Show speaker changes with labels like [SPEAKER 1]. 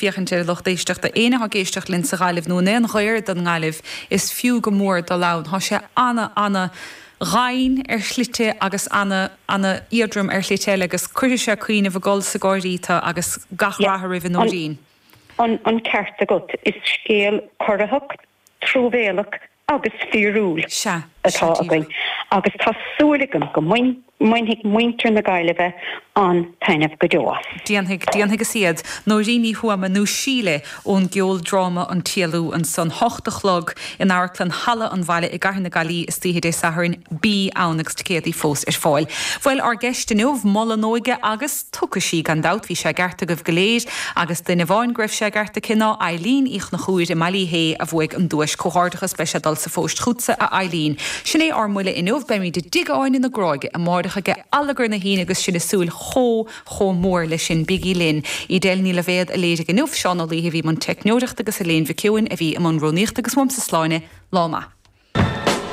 [SPEAKER 1] Féachaint ar an lucht éisteachta. Éinne atá ag éisteacht linn sa Ghaillimh nó in aon ghair don nGaillimh, is fiú go mór dul ann. Tá sé ana, ana dhoimhin ar shlite agus ana, ana éadrom ar shlite eile agus cuirfidh sé cuimhneamh ag gol 's ag gáirí tú agus gach rath oraibh a Nóirín.
[SPEAKER 2] An ceart agat. Is scéal corraitheach, truamhéalach agus fíorúil atá againn agus tá súil agam go mbainfidh muintir na Gaillimhe an-taitneamh go deo as.
[SPEAKER 1] Déanfaidh, déanfaidh is iad Nóirín Ní Thuama nó Síle ón gceoldráma An tÉalú ansan, 8 a chlog in Amharclann Halla an Bhaile i gCathair na Gaillimhe istoíche Dé Sathairn. Bí ann agus ticéadaí fós ar fáil. Bhuel, ár gceist inniu, moladh an óige agus. Tiocfaidh sí, gan dabht. Bhí sé i gceart agaibh go léir, agus duine amháin go raibh sé i gceart aici ná Eileen Uí Chonchúir i mBaile Uí Shé a bhuaigh an duais. Comhghairdeachas, beidh sé ag dul sa phóist chughatsa, a Eileen. Sin é ár mbuille inniu. Beimid i dTigh Áine na Gráige amáireach aige allagar na hAoine agus sinn ag súil chomh, chomh mór leis sin. Bígí linn. Edel Ní Loibhéad a léirigh inniu, Seán Ó Laoithe a bhí i mbun teicneoireachta agus Elaine Mhic Eoin a bhí i mbun rúnaíochta agus uaimse Sláine, lá maith.